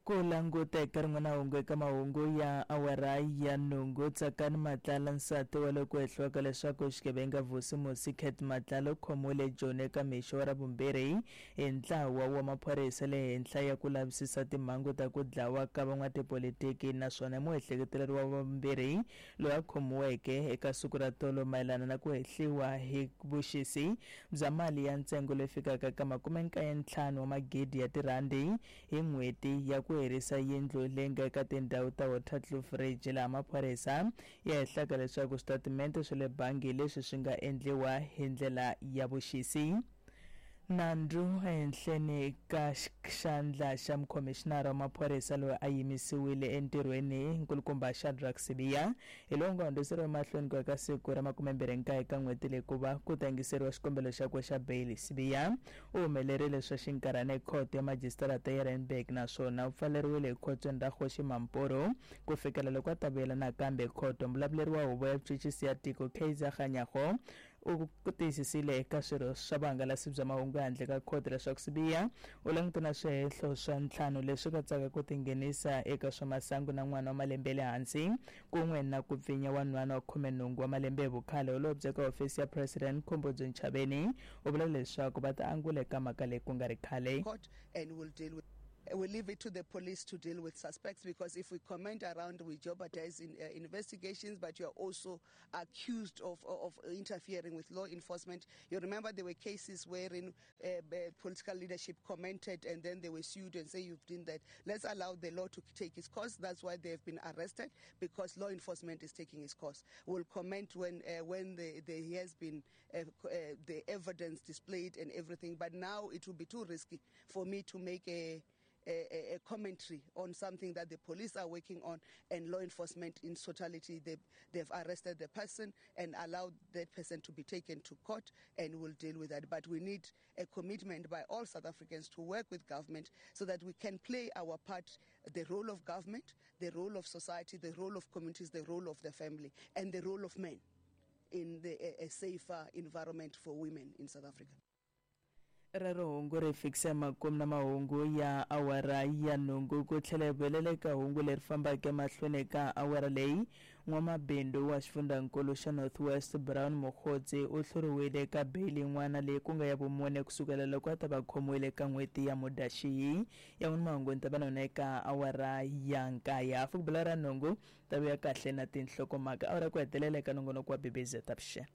Ku languta eka rin'wana hungu eka mahungu ya awara ya nhungu, Tsakani Matlala, nsati wa loko hehliwaka leswaku xigevenga Vusimusi Cat Matlala u khomiwile eJoni eka mixo wa Ravumbirhi hi ntlawa wa maphorisa le henhla ya ku lavisisa timhangu ta ku dlawa ka van'watipolitiki naswona i muehleketeleriwa wa vumbirhi loyi a khomiweke eka siku ra tolo mayelana na ku hehliwa hi vuxisi bya mali ya ntsengo leyi fikaka ka 95 wa magidi ya tirhandi hi n'hweti ya ku herisa yindlu leyi nga eka tindhawu ta Waterkloof Ridge laha maphorisa ya hehlaka leswaku switatimente swa le bangi leswi swi nga endliwa hi ndlela ya vuxisi. Nandzu ehenhleni ka xandla xa mukhomixinara wa maphorisa loyi a yimisiwile entirhweni Nkulukumba Shadrack Sibiya hi lowu nga hundziseriwa emahlweni ku ya ka siku ra 29 ka n'hweti leyi kuva ku ta yingiseriwa xikombelo xakwe xa beyili. Sibiya u humelerile swa xinkarhana ekhoto ya majisitarata ya Randburg naswona u pfaleriwile ekhotsweni ra Kgoshi Mampuru ku fikela loko a ta vuyela nakambe ekhoto. Muvulavuleri wa Huvo ya Vuchuchisi ya Tiko Kaizer Kganyago u tiyisisile eka swirho swa vuhangalasi bya mahungu ehandle ka khoto leswaku Sibiya u langutana na swihehlo swa ntlhanu leswi katsaka ku tinghenisa eka swa masangu na n'wana wa malembe ya le hansi kun'we na ku pfinya wanhwana wa 18 wa malembe hi vukhale. Holobye eka hofisi ya President Khumbudzo Ntshavheni u vula leswaku va ta angula eka mhaka leyi ku nga ri khale. Court and we'll deal with We leave it to the police to deal with suspects because if we comment around, we jeopardize in, investigations, but you are also accused of interfering with law enforcement. You remember there were cases wherein political leadership commented and then they were sued and say you've done that. Let's allow the law to take its course. That's why they have been arrested, because law enforcement is taking its course. We'll comment when there has been the evidence displayed and everything, but now it will be too risky for me to make a commentary on something that the police are working on and law enforcement in totality. They've arrested the person and allowed that person to be taken to court, and we'll deal with that. But we need a commitment by all South Africans to work with government so that we can play our part, the role of government, the role of society, the role of communities, the role of the family, and the role of men in a safer environment for women in South Africa. Rero hungu ri fikisa makumu na mahungu ya awara ya nhungu ku tlhela hi vuyelela eka hungu leri fambaka emahlweni eka awara leyi. N'wamabindzu wa xifundzankulu xa North West Brown Mogotsi u hluriwile eka beyili yin'wana leyi ku nga ya vumune kusukela loko a ta va khomiwile eka n'hweti ya Mudyaxihi. Ya n'wina mahungu ni ta va na yona eka awara ya nkaye hafu ku bula ra nhungu ta vuya kahle na tinhlokomhaka awara ku hetelela eka nongonoko wa BBZ Avuxeni.